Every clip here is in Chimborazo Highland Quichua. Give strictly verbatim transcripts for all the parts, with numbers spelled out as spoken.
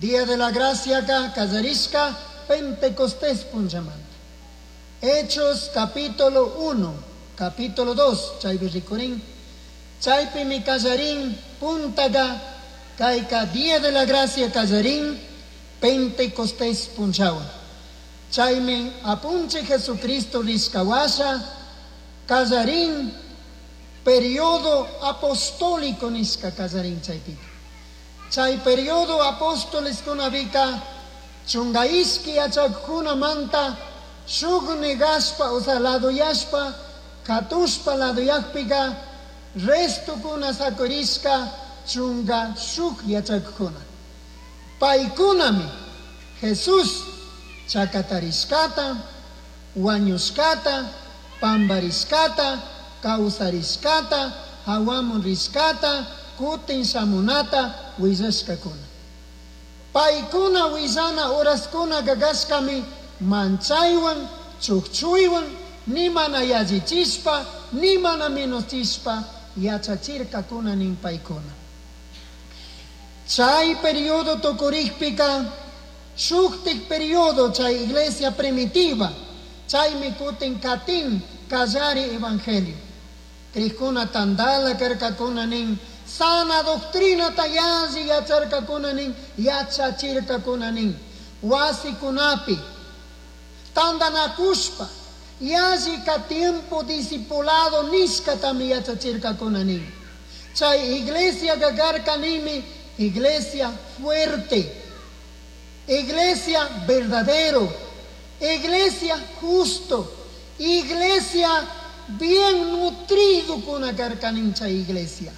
Día de la Gracia ka kallarishka Pentecostés punchamanta. Hechos capítulo uno, capítulo dos, chaypi rikurin. Chaypimi kallarin puntaka kayka Día de la Gracia kallarin Pentecostés punchawan. Chaymi apunchik Jesucristo rishkawasha kallarin periodo apostólico nishka kallarin chaypika. Chay periodo apóstoles kunapika chunga ishki yachakkunamanta shuk negashpa, o sea, laduyashpa, katushpa laduyakpika restokuna sakurishka chunga shuk yachakkuna. Paykunami Jesús chakatarishkata, wañushkata, pambarishkata, kawsarishkata, hawamun rishkata, kutin shamunata willashkakuna. Paykuna willana horaskuna gagashkami manchaywan, chukchuywan, ni mana yallichishpa, ni mana menochishpa yachachirkakuna nin paykuna. Chay periodo tukurikpika shuktik periodo chay iglesia primitiva, chaymi kutin katin kallari evangelio. Krikuna tandala karkakuna nin, sana doctrina yalli yacharkakuna nin, yachachirkakuna nin, wasikunapi tandanakushpa yallika tiempo discipulado nishkatami yachachirkakuna nin. Chay iglesia gagarka nimi iglesia fuerte, iglesia verdadero, iglesia justo, iglesia bien nutrido kuna karkanin chay iglesia.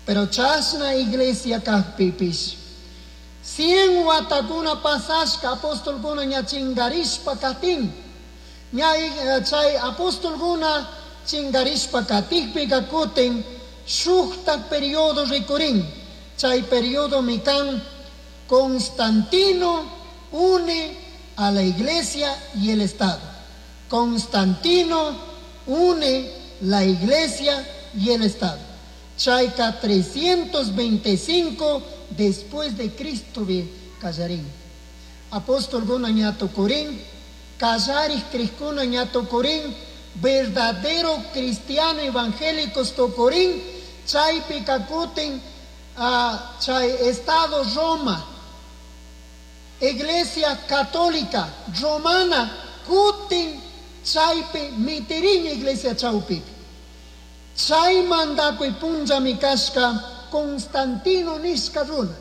Pero chashna iglesia kakpipish cien watakuna pasashka apostolkuna ña chingarishpa katin. Ña chay apostolkuna chingarishpa katikpika kutin shuktak periodo rikurin. Chay periodo mikan Constantino une a la iglesia y el Estado. Constantino une la iglesia y el Estado. Chayka trescientos veinticinco después de Cristo bi kallarin. Apóstolkuna ña tukurin, kallarij krikuna ña tukurin, verdadero cristiano evangélicos tukurin, chaypika kutin uh, chay Estado Roma, Iglesia Católica Romana, kutin chaypi mitirin iglesia chawpipi. Chay mandakuy punllami kashka Constantino nishka runa.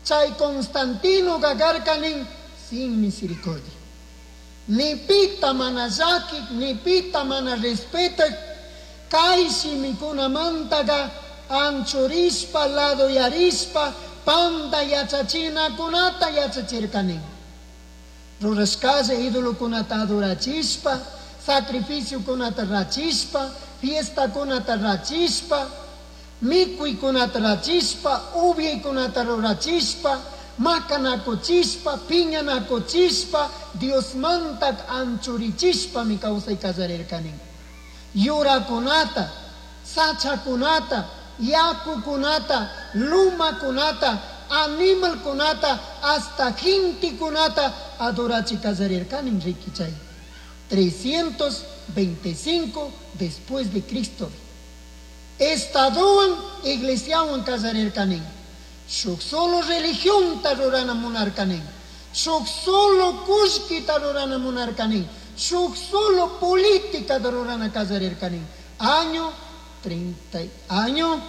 Chay Constantino gagarka nin sin misericordia. Ni pita mana llakik, ni pita mana respetak, kay shimikunamantaga anchurishpa, ladoyarishpa, panda yachachinakunata yachachirkanin. Rurashkalla idolokunata adorachishpa, sacrificiokunata rachishpa, fiestakunata rachishpa, mikuykunata rachishpa, ubyaykunata rurachishpa, makanakuchishpa, piñanakuchishpa, Diosmanta anchurichishpami kawsay kallarirkanin. Yurakunata, sachakunata, yakukunata, lumakunata, animalkunata, hasta gentekunata adorachi kallarirkanin riki chay. trescientos veinticinco después de Cristo. Estadowan iglesiawan kallarirkanin. Shuk solo religión rurana munarkanin. Shuk solo kullkita rurana munarkanin. Shuk solo política rurana kallarirkanin. Año treinta, año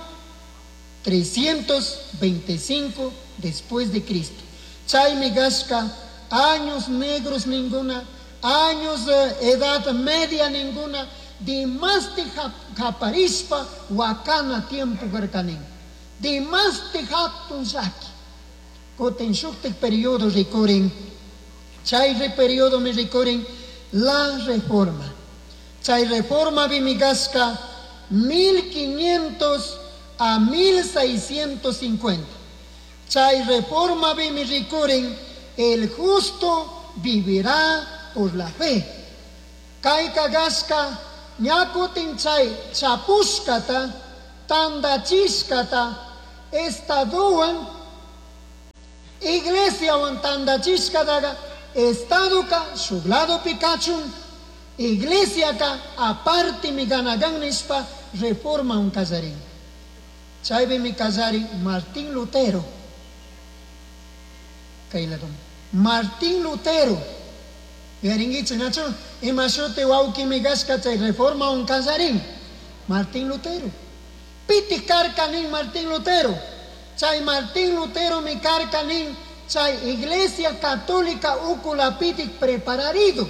trescientos veinticinco después de Cristo. Chaymi gashka años negros ninguna, años de edad media ninguna, dimasti japarishpa wakana tiempo karkanin. Dimasti hatun llaki. Kutin shuktik periodo rikurin, chay periodo mi rikurin la reforma. Chay reforma bimigasca mil quinientos a mil seiscientos cincuenta. Chay reforma bimi rikurin el justo vivirá por la fe. Kayka gashka ña kutin chay chapushkata, tandachishkata, estadowan, Iglesiawan tandachishkataqa Estadoka shuk ladopi kachun, iglesiaka apartemi kanakan nishpa reformawan kallarin. Chaypimi kallarin Martín Lutero. Kay lado. Martín Lutero. Yuyarinkichik nachu? Ima shuti wawkimi kashka chay reformawan kallarin. Martín Lutero. Pitik karka nin Martín Lutero. Chay Martín Lutero mi karka nin chay Iglesia Católica ukulapitik prepararido.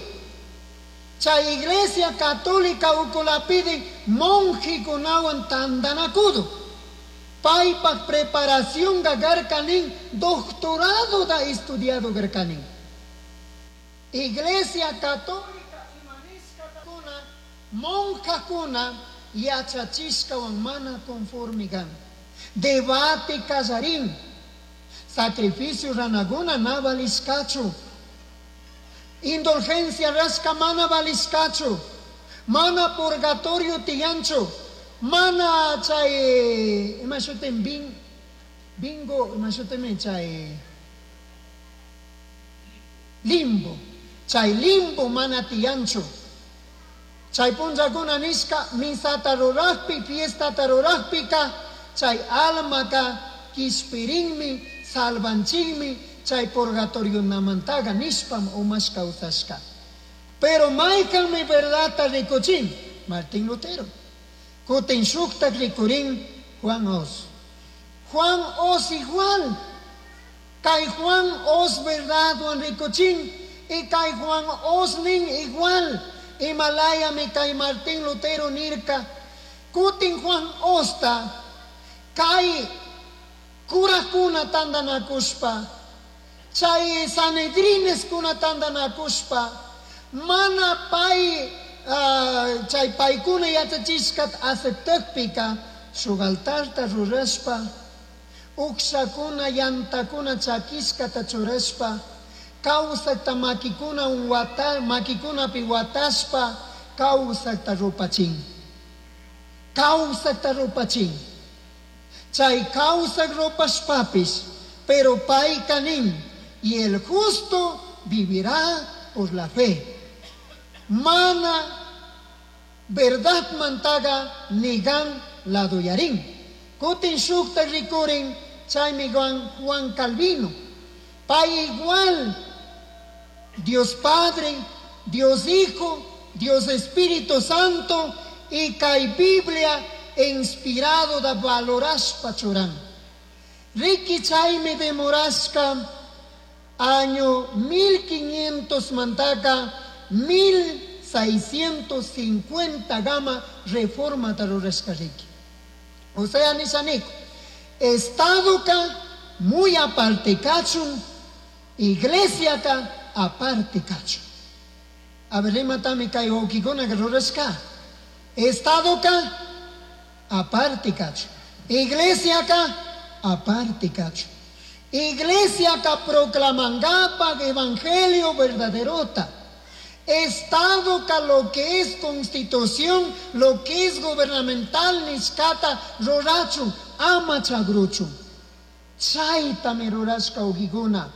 Chay Iglesia Católica ukulapitik monjekunawan tandanakudo. Paypak preparación karka nin doctorado da estudiado karka nin. Iglesia Católica imanishkatakuna monjakuna yachachishkawan mana conforme kan. Debate kallarin. Sacrificio ranaguna na valishkachu. Indulgencia rashka mana valishkachu. Mana purgatorio tiyanchu. Mana chay ima shutin bin, bingo ima shutin chay limbo. Chay limbo mana tiyanchu. Chay punllakuna nishka misata rurajpi, fiestata rurajpika, chay almaka kishpirinmi, salvanchinmi, chay purgatorio namantaga nishpam umash kawsashka. Pero maykanmi verdadta rikuchin, Martín Lutero. Kutin shuktak rikurin Juan Os. Juan Os igual. Kay Juan Os verdadwan rikuchin, y kay Juan Os nin igual. Himalaya mi kay Martín Lutero nirka. Kutin Juan Osta, kay kurakuna tandanakushpa, chay Sanedrines kuna tandanakushpa, mana pay, uh, chay paykuna yachachishkat aceptakpika, shuk altarta rurashpa, ukshakuna yantakuna chakishkata churashpa, kawsakta makikuna wata, makikunapi watashpa, kawsakta rupachin. Kawsakta rupachin. Chay kawsak rupashpapis, pero payka nin, y el justo vivirá por la fe. Mana verdad mantaga nigan ladoyarin. Kutin shukta rikurin, chaymi Juan, Juan Calvino. Pay igual, Dios Padre, Dios Hijo, Dios Espíritu Santo, y kay Biblia inspirado da valorashpa churan. Riki chaymi demorashka año mil quinientos mantaka mil seiscientos cincuenta gama reforma tarurashka riki. O sea, nishaniko, Estado ka muy aparte kachun, iglesia ka aparte kachun. A ver, rimatami kay wawkikuna ka rurashka. Estado ka aparte kachun. Iglesia ka aparte kachun. Iglesia ka proclamangapa evangelio verdaderota. Estado ka lo que es constitución, lo que es gubernamental, nishkata rurachun, ama chagruchun. Chaytami rurashka wawkikuna.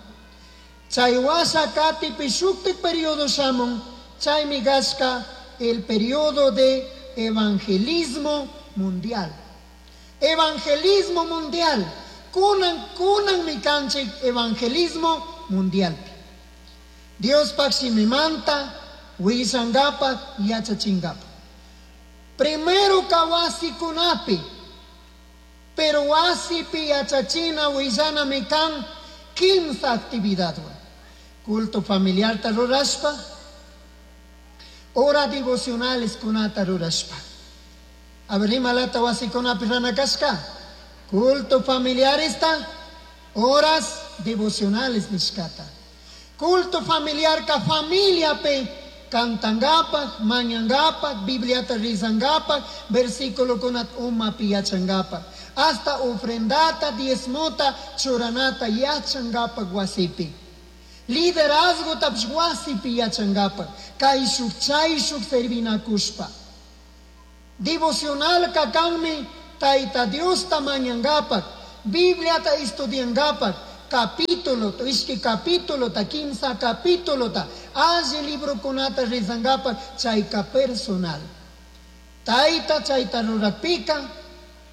Chay washa katipi shuktik periodo shamun, chaymi gashka el periodo de evangelismo mundial. Evangelismo mundial. Kunan, kunan mi kanchik evangelismo mundial. Dios pakshimimanta, wisangapa, yachachingapa. Primero kawasi kunapi, pero wasipi yachachina wisana mi kan quince actividad. Culto familiar tarurashpa, hora devocionales kunata rurashpa. A ver, imalata wasi kunapi ranakashka. Culto familiar está, horas devocionales nishkata. Culto familiar ka familia pe cantangapa, mañangapa, bibliata rizangapa, versículo kunat uma piyachangapa. Hasta ofrendata, diezmota, churanata, yachangapa guasipi. Liderazgo taps guasipi yachangapa. Kaishuk, chayshuk servinakushpa. Devocional kakanmi, taita Dios ta mañangapa, Biblia ta estudiangapa, capítulo, ishki capítulo, ta kimsa capítulo, ta alli librokunata rezangapaj chayka personal. Tayta chayta rurapika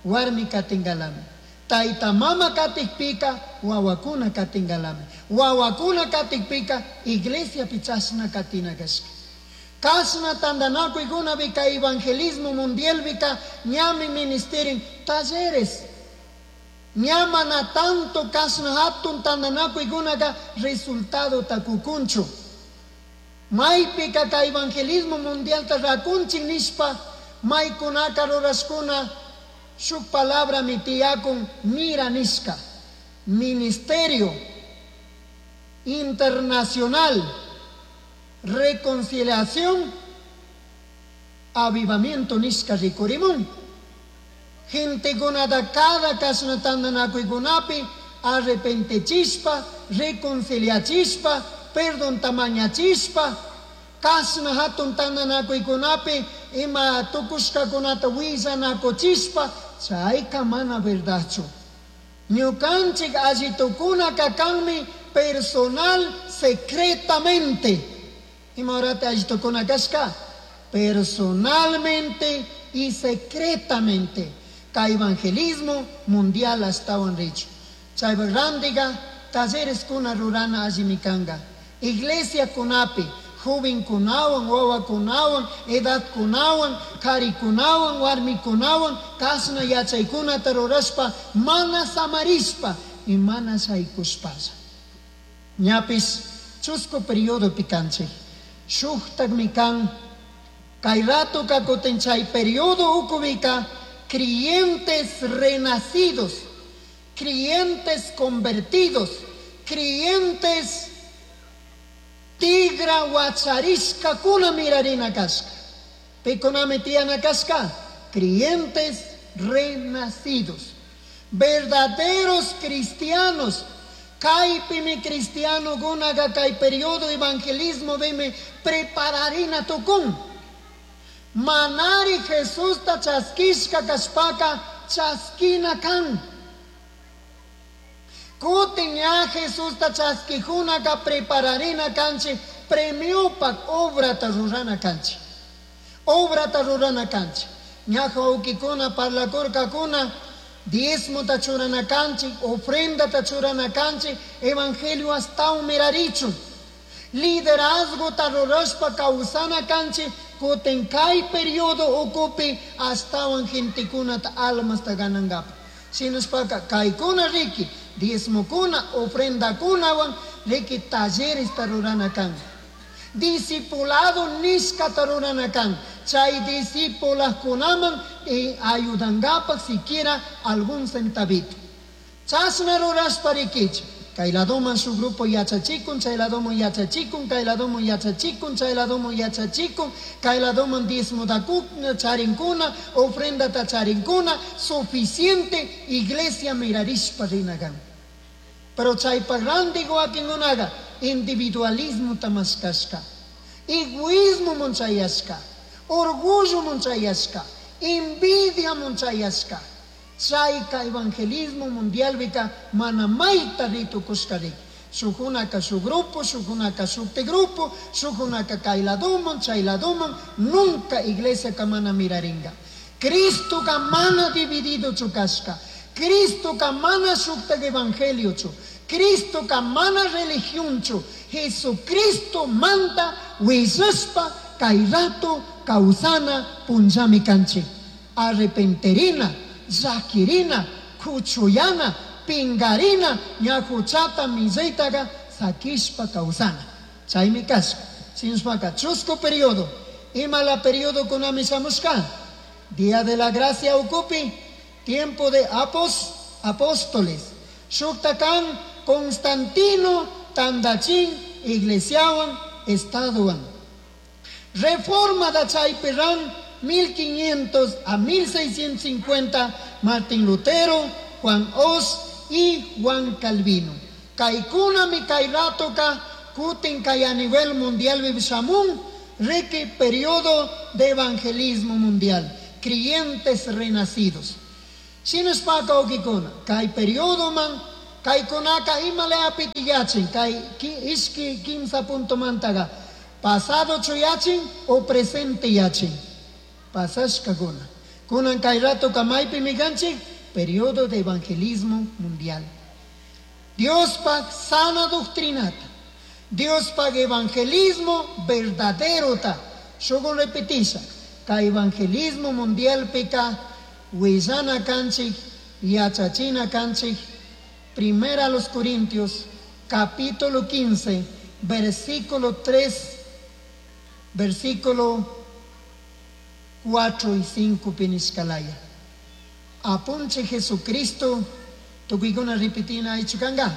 warmi katingalami. Tayta mama katikpika wawakuna katingalami. Wawakuna katikpika iglesia pichashna katina kashka. Kashna tandanakuykuna evangelismo mundial bika ñami ministerin talleres. Ñamana tanto kashna hatun tandanakuykunaka resultado takukunchu. Maypika ka evangelismo mundial ta rakunchin nishpa maykunaka rurashkuna shuk palabra mitiyakun mira nishka. Ministerio Internacional Reconciliación Avivamiento nishka rikurimun. Gentekunata cada kashna tandanakuykunapi arrepentechispa, reconciliachispa, perdón tamañachispa, kashna hatun tandanakuykunapi ima tukushkakunata willanakuchispa, chayka mana verdadchu. Ñukanchik allitukuna kakanmi personal secretamente. Ima horata allitukuna kashka? Personalmente y secretamente. Ka evangelismo mundial ashtawan richu. Chaypa randiga talleres kuna rurana allimikanga. Iglesia kunapi, joven kunawan, wawa kunawan, edad kunawan, kari kunawan, warmi kunawan, kashna yachaykunata rurashpa, mana samarishpa y mana shaykushpalla. Ñapis chusku periodo pikanchik. Shuktakmi kan, kay rato kakutin chay periodo ukubika, creyentes renacidos, creyentes convertidos, creyentes tigra wacharishka kuna mirarina kashka. Pikunami tiyana kashka, creyentes renacidos, verdaderos cristianos. Kaypimi cristiano gunaga kay periodo evangelismo bimi prepararina tukun. Manari Jesús ta chaskishka kashpaka chaskina kan. Kutin ya Jesús ta chaskijunaka prepararina kanchi premiopak obra ta rurana kanchi. Obra ta rurana kanchi. Ñaja ukikuna parlakurkakuna diezmo ta churana kanchi, ofrenda ta churana kanchi, evangelio hasta mirarichu. Liderazgo ta rurashpa kawsana kanchi, kutin kay periodo ukupi astawan gentekuna ta almas ta ganangapa. Sinuspaka kaykuna riki, diezmokuna, ofrendakunawan riki talleres ta rurana kan. Discipulado nishka ta rurana kan. Chay discipulakunaman y ayudangapa siquiera algún centavito. Chasna rurashpa rikichi. Kay ladoman su grupo yachachikun, chay ladoman yachachikun, kay ladoman yachachikun, chay ladoman yachachikun, kay ladoman diezmo da charinkuna, ofrenda ta charinkuna, suficiente iglesia mirarishpa rinagan. Pero chay pagrandi guakingunaga, individualismo tamaskashka, egoísmo monchayashka, orgullo monchayashka, envidia monchayashka. Chayka evangelismo mundial bika manamaita ritukushkarik. Shukunaka su grupo, shukunaka su grupo, shukunaka kailaduman, chailaduman, nunca iglesia kamana miraringa. Cristo kamana dividido chukashka. Cristo kamana shukta evangelio chu. Cristo kamana religión chu. Jesucristo manda wisuspa kairato kausana punjami kanchi. Arrepenterina, zakirina, kuchuyana, pingarina, ñajuchata, miseitaga, sakishpa kausana. Chaymi kashka. Sinspaka, chusco periodo. Ima la periodo kunami shamushka. Día de la gracia ukupi, tiempo de apos, apóstoles. Shuktakan, Constantino, Tandachin, Iglesiawan, Estaduan. Reforma da Chayperán, mil quinientos a mil seiscientos cincuenta, Martín Lutero, Juan Os y Juan Calvino. Kaikuna mi kairatoka, kutin kay a nivel mundial vivishamun, rique periodo de evangelismo mundial, creyentes renacidos. Sinuspaka okikuna, kay periodo man, Kaykunaka imalayapiti yachin kay ishki kimsa puntomantaqa pasado yachin o presente yachin pasashkakuna. Kunan kay ratoka maypimi kanchik periodo de evangelismo mundial. Diospaj sana doctrinata, Diospaj evangelismo verdaderota. Shugun repetisha, kay evangelismo mundialpika willana kanchik, yachachina kanchik. Primera a los Corintios, capítulo quince, versículo tres, versículo cuatro y cinco pinishkalaya. Apunche Jesucristo, tukuykuna repetina aychukanga.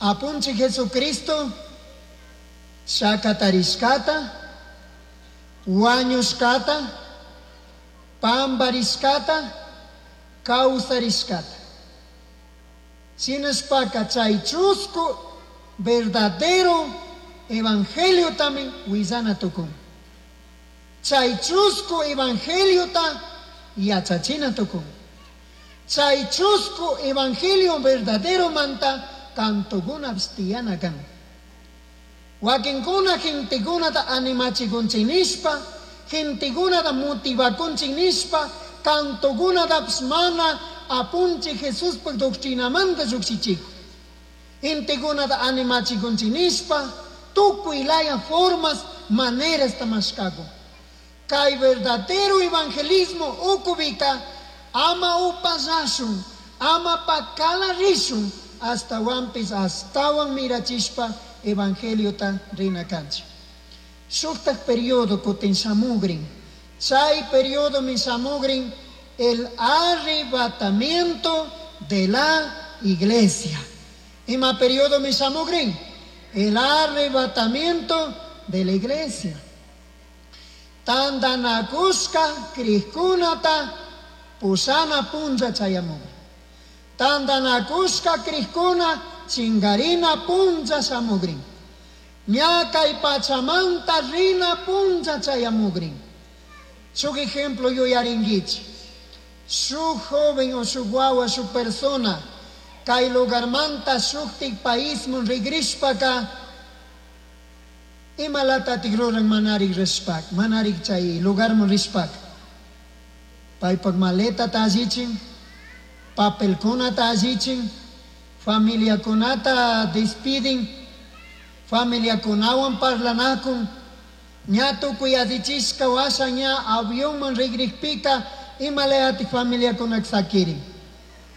Apunche Jesucristo, shakatarishkata, wañushkata, pambarishkata, kawsarishkata. Shinashpaka chay chusku verdadero evangelio también willana tukun. Chay chusku evangeliota yachachina tukun. Chay chusku evangelio verdadero manta kantokuna tiyana kan. Wakinkuna gentekunata animachikunchik nishpa, gentekunata motivakunchik nishpa, kantokunata mana apunche Jesuspaj doctrinamanta llukshichikun. Gentekunata animachikunchik nishpa, tukuy laya formas, maneras tamashkakun. Kay verdadero evangelismo ukupika ama upallashun, ama pakala rishun, ashtawanpish ashtawan mirachishpa evangeliota rina kanchik. Shuktak periodo kutin shamugrin. Chay periodo mi shamugrin el arrebatamiento de la iglesia. Ima periodo mi shamugrin? El arrebatamiento de la iglesia. Tandanakushka crijkunata pushana punlla chayamugrin. Tandanakushka crijkuna chingarina punlla shamugrin. Ña kay pachamanta rina punlla chayamugrin. Shuk ejemplo yuyaringuichi. Shuk joven o shuk wawa, shuk persona, kay lugarmanta shuktik paismun rigrishpaka, imalatatik ruran manarik rishpak, manarik chay lugarmun rishpak. Paypak maletata allichin, papelkunata allichin, familiakunata despidin, familiakunawan parlanakun, ña tukuy allichishka washa ña avionman rigrikpika, imalayatik familiakunak sakirin.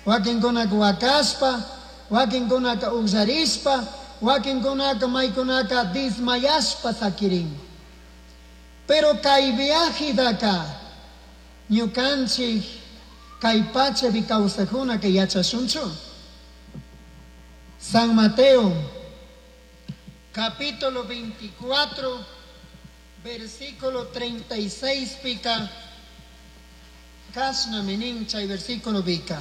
Wakinkunaka wakashpa, wakinkunaka ugllarishpa, wakinkunaka maykunaka desmayashpa sakirin. Pero kay viajidaka ñukanchik kay pachapi kawsajunaka yachashunchu. San Mateo, capítulo veinticuatro, versículo treinta y seis pica, kashna minin chay versículo pica.